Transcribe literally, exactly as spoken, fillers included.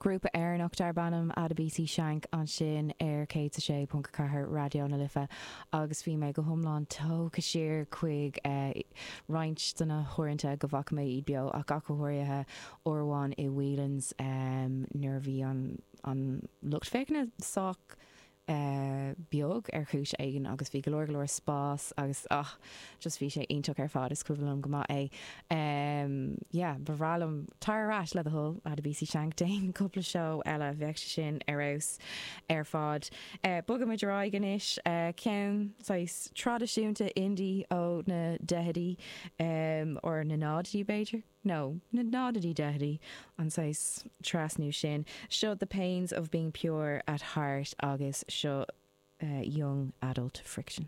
Grúpa Éireannach darb ainm Adebisi Shank ansin ar céad a sé ponc ceathair Raidió na Life agus bhí mé go hiomlán tógtha siar chuig roinnt de na huaireanta go bhfaca mé iad beo ach go háirithe uair amháin i Whelan's nuair a bhí an an lucht féachana sách beag ar chúis éigin agus bhí go leor go leor spás agus ach just bhí sé iontach ar fad is cuimhin liom go maith é. Um, yeah, ba bhreá liom tar ar ais le do thoil Adebisi Shank déan cúpla seó eile bheadh sé sin ar fheabhas ar fad. Uh, Bogaimid ar aghaidh anois uh, ceann saghas traidisiúnta indie ó na daichidí um, or na náidí b'fhéidir? No, na náidí daichidí an saghas trasnú sin. Seo the pains of being pure at heart agus seo uh, young adult friction.